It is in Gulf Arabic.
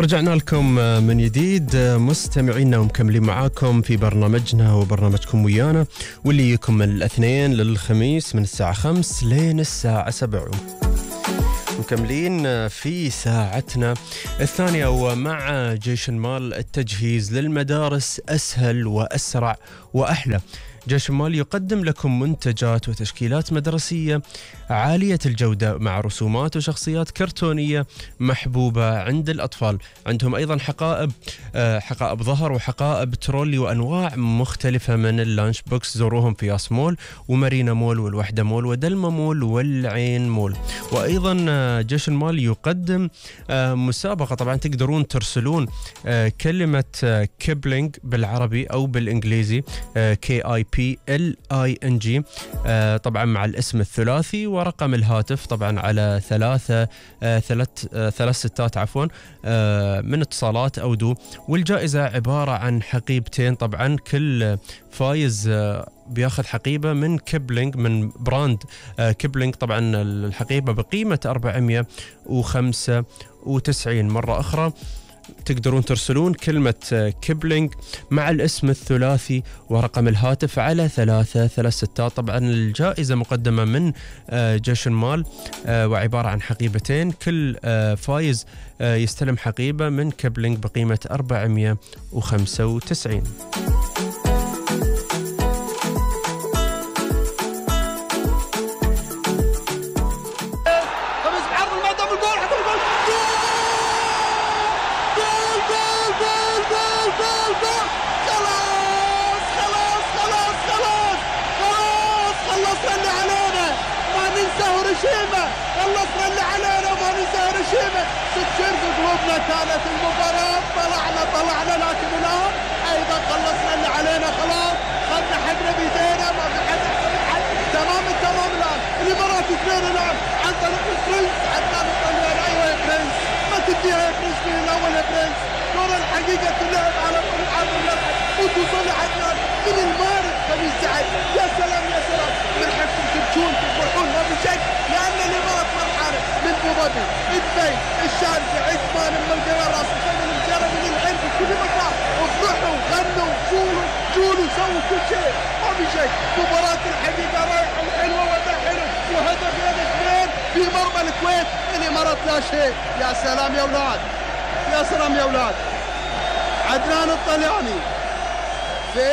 رجعنا لكم من جديد مستمعينا ومكملين معاكم في برنامجنا وبرنامجكم ويانا، واللي يجيكم من الاثنين للخميس من الساعة 5 لين الساعة 7. مكملين في ساعتنا الثانية ومع جيش المال. التجهيز للمدارس أسهل وأسرع وأحلى. جيش المال يقدم لكم منتجات وتشكيلات مدرسية عالية الجودة مع رسومات وشخصيات كرتونية محبوبة عند الأطفال. عندهم أيضا حقائب ظهر وحقائب ترولي وأنواع مختلفة من اللانش بوكس. زوروهم في ياس مول ومارينا مول والوحدة مول ودلما مول والعين مول. وأيضا جيش المال يقدم مسابقة، طبعا تقدرون ترسلون كلمة كيبلينج بالعربي أو بالإنجليزي KIPLING طبعا مع الاسم الثلاثي ورقم الهاتف طبعا على ثلاث ستات من اتصالات أو دو. والجائزة عبارة عن حقيبتين. طبعا كل فايز بياخذ حقيبة من كيبلينج من براند كيبلينج. طبعا الحقيبة بقيمة 495. مرة أخرى تقدرون ترسلون كلمة كيبلينج مع الاسم الثلاثي ورقم الهاتف على 336. طبعا الجائزة مقدمة من جيش المال وعبارة عن حقيبتين. كل فايز يستلم حقيبة من كيبلينج بقيمة 495. خلص اللي علينا وما ننسى هيروشيما. تكسر قلوبنا كانت المباراة. طلعنا لكن الآن أيضا خلصنا اللي علينا. خلاص خدنا حقنا بيدينا ما في حد. تمام الآن الإمارات 2 الآن عن طريق البرنس عدنان الطليان. أيوة يا برنس ما تديها يا برنس من الأول يا برنس. كرة الحقيقة تلعب على ملعب الملعب وتوصل لعدنان من المارد خميس سعد. يا سلام يا سلام من حقكم تبكون تفرحون ما في شك، لأن الإمارات فرحانة من أبو ظبي دبي الشارجة عثمان أم القرار راس الخيمة المجرة من الحين في كل مكان. افرحوا غنوا جولوا سووا كل شيء ما في شيء. مباراة الحقيقة رايحة وحلوة وأداء حلو وهدفين 2 في مرمى الكويت. الإمارات لا شيء. يا سلام يا أولاد يا سلام يا أولاد. عدنان الطلياني في